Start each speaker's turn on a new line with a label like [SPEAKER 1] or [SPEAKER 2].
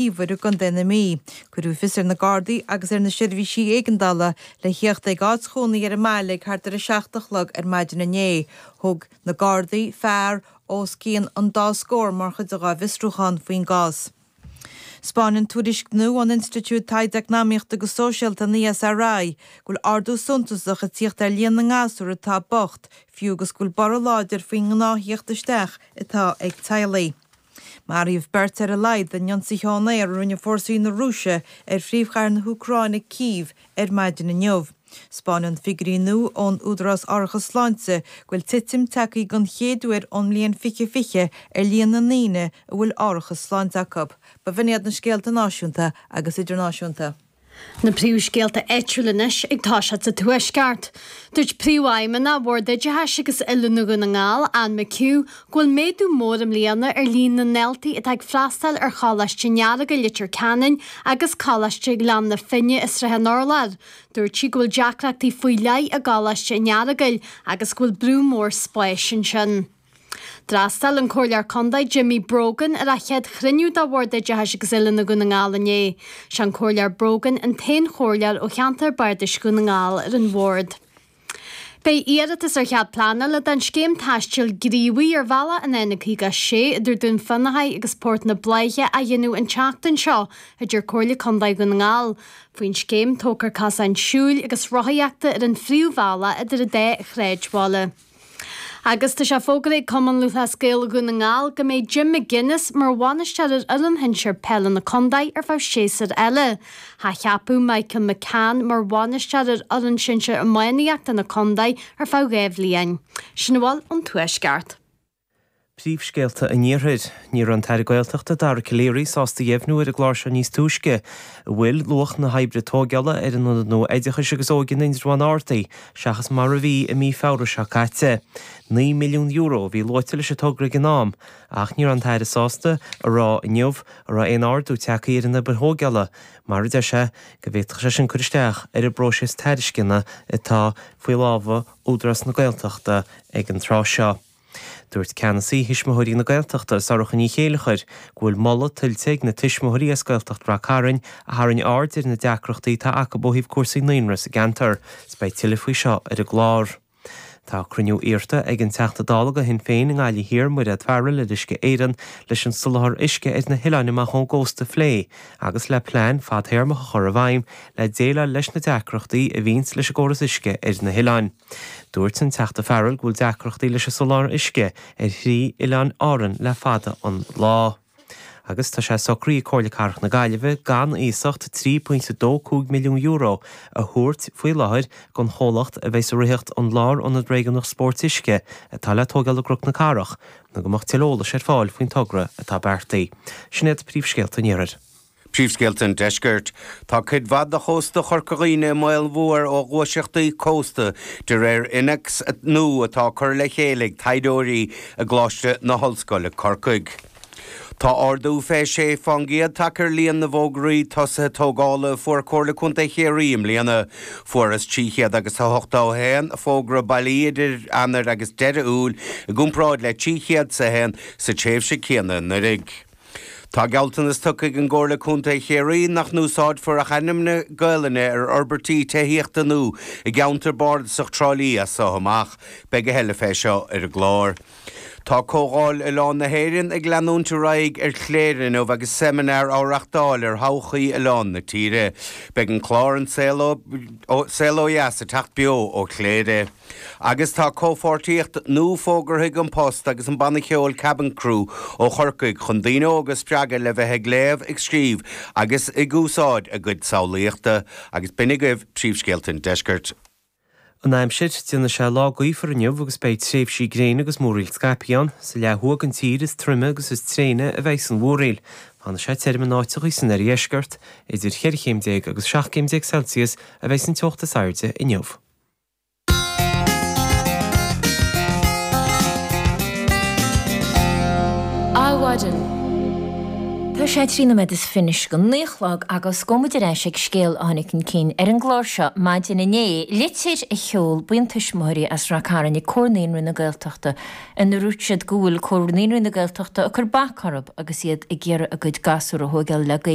[SPEAKER 1] Teamhair i gContae na Mí. Cuireadh fios ar na Gardaí agus ar na seirbhísí éigeandála le theacht ag áit chónaí ar an mbaile ag thart ar a 7 a chlog ar maidin inné. Thóg na Gardaí fear os cionn an dá scór mar chuid dhá bhfiosrúchán faoin gcás. 'Spáineann tuairisc nua ón Institiúid Taighde Eacnamaíochta agus Sóisialta, an ESRI, go bhfuil ardú suntasach ag tíocht ar líon na ngasúr atá bocht, fiú agus go bhfuil borradh láidir faoin ngnáth-thíocht isteach atá ag teaghlaigh. Maraíodh beirt ar a laghad in ionsaithe ón aer a rinne fórsaí na Rúise ar phríomhchathair na hÚcráine, Cív, ar maidin inniu. 'Spáineann figiúirí nua ón Údarás Árachas Sláinte go bhfuil titim tagtha den chéad uair ón mbliain 2020 ar líon na ndaoine a bhfuil árachas sláinte acu. B'in iad na scéalta náisiúnta agus idirnáisiúnta.
[SPEAKER 2] Na príomhscéalta áitiúla anois ag toiseacht sa Tuaisceart. Dúirt Príomhfheidhmeannach Bhord Oideachais agus Oiliúna Dhún na nGall, Anne McHugh, go bhfuil méadú mór i mbliana ar líon na ndaltaí atá ag freastáil ar Choláiste an Earagail, Leitir Ceanainn agus Coláiste Ghleann na Finne i Srath an Urláir. Dúirt sí go bhfuil deacrachtaí faoi leith i gColáiste an Earagail agus go bhfuil brú mór spáis ansin. D'fhreastail an Comhairleoir Contae Jimmy Brogan ar a chéad chruinniú de Bhord Oideachais agus Oiliúna Dhún na nGall inné. Sé an Comhairleoir Brogan an t-aon chomhairleoir ó cheantar Bardais Dhún na nGall ar an bhord. Beidh iarratas ar chead pleanála don scéim taistil gníomhaigh ar bhealach an N56 idir Dún Fionnachaidh agus Port na Bláiche á dhéanamh an tseachtain seo, a deir Comhairle Contae Dhún na nGall. Faoin scéim, tógfar cosáin siúil agus rothaíochta ar an phríomhbhealach idir an dá shráidbhaile. Agus tá sé fógartha ag Cumann Lúthchleas Gael Dhún na nGall go mbeidh Jim McGuinness mar bhainisteoir ar fhoireann shinsir peile na contae ar feadh séasúir eile. Athcheapadh Michael McCann mar bhainisteoir ar fhoireann shinsir iománaíochta na contae ar feadh 2 bhliain. Sin a bhfuil ón Tuaisceart.
[SPEAKER 3] Príomhscéalta an Iarthair. Ní raibh an tAire Gaeltachta Dara Calleary sásta a dheimhniú ar an gclár seo níos túisce an bhfuil luach na hoibre tóigeála ar an Ionad nua Oideachais agus Óige in Indreabhán ardaithe seachas mar a bhí i mí Feabhra seo caite. €9 milliún a bhí luaite leis an togra ag an am ach ní raibh an tAire sásta a rá inniu an raibh aon ardú tagtha ar an obair thóigeála mar a deir sé go bhféadfadh sé sin cur isteach ar an bpróiseas tairisceana atá faoi lámha Údarás na Gaeltachta ag an tráth seo. Dúirt ceannasaí Thuismitheoirí na Gaeltachta, Sorcha Ní Chéilleachair, go bhfuil moladh tuillte ag na tuismitheoirí as Gaeltacht Rath Cairn a tharraing aird ar na deacrachtaí atá acu ó thaobh cúrsaí naíonra sa gceantar. 'S beidh tuilleadh faoi seo ar an gclár. Tá cruinniú iarrta ag an Teachta Dála do Shinn Féin i nGaillimh Thiar, Mairéad Farrell, ar Uisce Éireann leis an soláthar uisce ar na hoileáin amach ón gcósta a phlé agus le plean fadthéarmach a chur i bhfeidhm le déileáil leis na deacrachtaí a bhíonns leis an gcóras uisce ar na hoileáin. Dúirt an Teachta Farrell go bhfuil deacrachtaí leis an soláthar uisce ar thrí oileán Árann le fada an lá. Agus tá sé socraithe ag Comhairle Cathrach na Gaillimhe gan iasacht €3.25 milliún a thabhairt faoi láthair don chomhlacht a bheas ag ritheacht an Lárionad Réigiúnach Spóirt Uisce atá le tógáil i gCnoc na Cathrach nó go mbeadh tuilleadh eolais ar fáil faoin togra atá beartaithe. Sin iad príomhscéalta an Iarthair.
[SPEAKER 4] Príomhscéalta an Deiscirt. Tá cuid mhaith de chósta Chorca Dhuibhne i mbaol mhór ó ghluaiseachtaí cósta, de réir innéacs nua atá curtha le chéile ag taighdeoirí i gColáiste na hOllscoile, Corcaigh. Tá ardú fé 6 fán gcéad tagtha ar líon na bhfógraí tosaithe tógála a fuair Comhairle Contae Chiarraí i mbliana. Fuarthas 300 agus 81 fógra bailí idir Eanáir agus deireadh Iúil i gcomparáid le 301 sa tréimhse céanna anuraidh. Tá gealltanas tugtha ag an gComhairle Contae Chiarraí nach n-úsáidfear ach ainmneacha Gaelainne ar fhorbairtí tithíochta nua i gceantar bardasach Trá Lí as so amach. Beidh a thuilleadh fé seo ar an gclár. Tá Comhdháil Oileán na hÉireann ag leanúint ar aghaidh ar Chléire inniu agus seimineár á reachtáil ar thodhchaí oileáin na tíre. Beidh an clár An Saol Ó Dheas ag teacht beo ó Chléire. Agus tá comhpháirtíocht nua fógartha ag An Post agus an banna ceoil Cabin Crew ó Chorcaigh chun daoine óga a spreagadh le bheith ag léamh, ag scríobh agus ag úsáid a gcuid samhlaíochta. Agus b'in agaibh príomhscéalta an deiscirt.
[SPEAKER 3] An aimsir, Déanfaidh sé lá gaofar inniu agus beidh tréimhsí gréine agus múraíl scaipthe ann. Sa leath thuaidh den tír is troime agus is tréine a bheidh an mhúraíl. Fanfaidh sé tirim in áiteachaí san oirdheisceart. Idir cheithre chéim déag agus 17 céim Celsius a bheidh an teocht is airde inniu.
[SPEAKER 5] Adhmhaidin. Tá sé 3 nóiméad is fiche go 9 a chlog agus gabhfaidh muid ar ais ag scéal a tháinig chun cinn ar an gclár seo maidin inné, litir a sheol buíon tuismitheoirí as Rath Cairn ag Comhar Naíonraí na Gaeltachta ina ndúirt siad go bhfuil Comhar Naíonraí na Gaeltachta ag cur bac orthu agus iad ag iarraidh a gcuid gasúr a thóigeáil le Gaeilge.